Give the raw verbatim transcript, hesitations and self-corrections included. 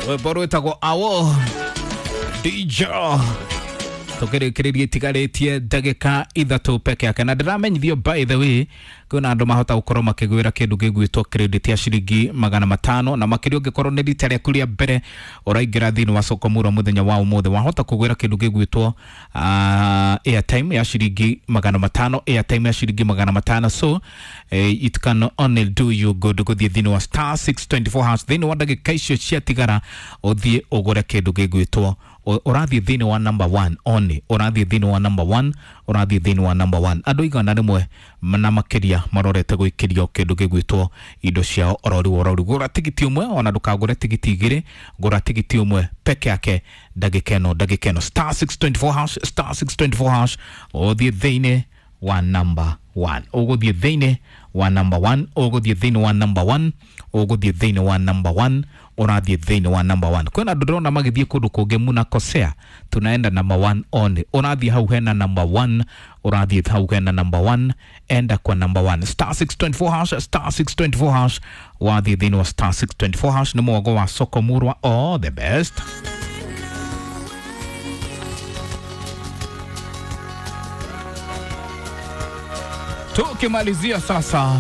Rwĩmbo rwĩtagwo Awo D J. Tukĩrĩkĩrĩria itigarĩtie ndagĩka ithatũ peke yake, na ndĩramenyithio by the way kwĩna andũ mahota gũkorwo makĩgwĩra kĩndũ gĩgwĩtwo credit ya ciringi magana matano, na makĩria ũngĩkorwo nĩ rita rĩaku rĩa mbere ũraingĩra thĩinĩ wa soko mura mũthenya wa ũmũthĩ, wahota kũgwĩra kĩndũ gĩgwĩtwo uh, airtime ya ciringi magana matano, airtime ya ciringi magana matano. So eh, it can only do you good gũthiĩ thĩinĩ wa star six twenty-four hash thĩinĩ wa ndagĩka icio ciatigara ũthiĩ ũgũre kĩndũ gĩgwĩtwo ũrathiĩ thĩinĩ wa number one only, ũrathiĩ thĩinĩ wa number one, ũrathiĩ thĩinĩ wa number one. Andũ igana rĩmwe na makĩria marorete gwĩkĩrio kĩndũ gĩgwĩtwo indo ciao orori orori. Gũra tigiti ũmwe, ona ndũkagũre tigiti igĩrĩ, gũra tigiti ũmwe peke yake ndagĩka ĩno, ndagĩka ĩno. Star six twenty-four hash, star six twenty-four hash, ũthiĩ thĩinĩ wa number one, ũgũthiĩ thĩinĩ wa number one, ũgũthiĩ thĩinĩ wa number one, ũgũthiĩ thĩinĩ wa number one, ũrathiĩ thĩinĩ wa number one. Kwĩna andũ ndĩrona magĩthiĩ kũndũ kũngĩ munakosea, tunaenda number one only. Ũrathiĩ hau hena number one, ũrathiĩ hau hena number one, enda kwa number one. Star six twenty-four hash, star six twenty-four hash, wathiĩ thĩinĩ wa star six twenty-four hash. Nĩ mwogo wa soko murwa, all the best. Tukimalizia sasa